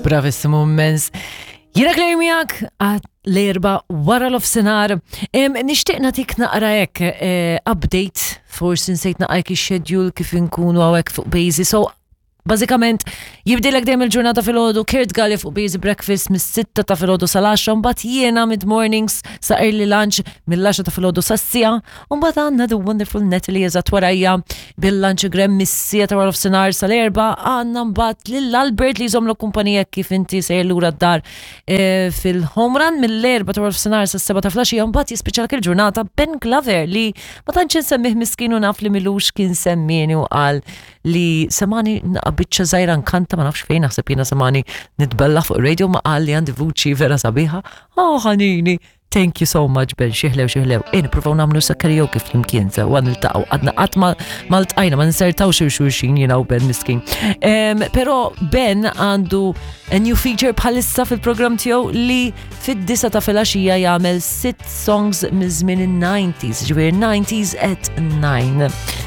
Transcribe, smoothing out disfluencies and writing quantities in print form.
Bravissimu immens. Jiena Claire miegħek għad l-erba wara l-ofsenar. Nixtieq nagħtik naqra hekk eh, update, forsi nsejt naqra hekk ix-schedule kif inkunu hawnhekk fuq Bazy. So Bażikament, jibdilek dejjem il-ġurnata filgħodu Kurt Galli fuq Busy Breakfast mis-6 ta' filgħodu sal-10, mbagħad jiena mid-mornings sa early lunch mill-10 ta' filgħodu sas-siegħa, u mbagħad għandna the wonderful Natalie eżatt warajja bil-lunch grem mis-siegħa ta' wara nofsinhar sal-erba' għandna mbagħad lil Albert li jżommlok kumpanija kif inti sejjer lura d-dar eh, fil-home run mill-erba ta' wara nofsinhar sas-seba' ta' filgħaxija mbagħad jispiċċalek il-ġurnata Ben Glover li ma tantx insemmih miskin u naf li milux kien semmieni u qal li semani naqa' biċċa żgħira nkanta ma nafx fejn naħseb jiena semani nitbella fuq radio ma qal li għandi vuċi vera sabiħa. Oh ħanini, thank you so much Ben, xieħlew xieħlew. E nippruvaw nagħmlu sa karaoke flimkien sewwa niltaqgħu għadna qatt ma ltqajna ma nsertawx xulxin jiena u Ben miskin. Però Ben għandu a new feature bħalissa fil-programm tiegħu li fid-disa ta' filgħaxija jagħmel sitt songs miż-żmien in-90s, ġifieri 90s at 9.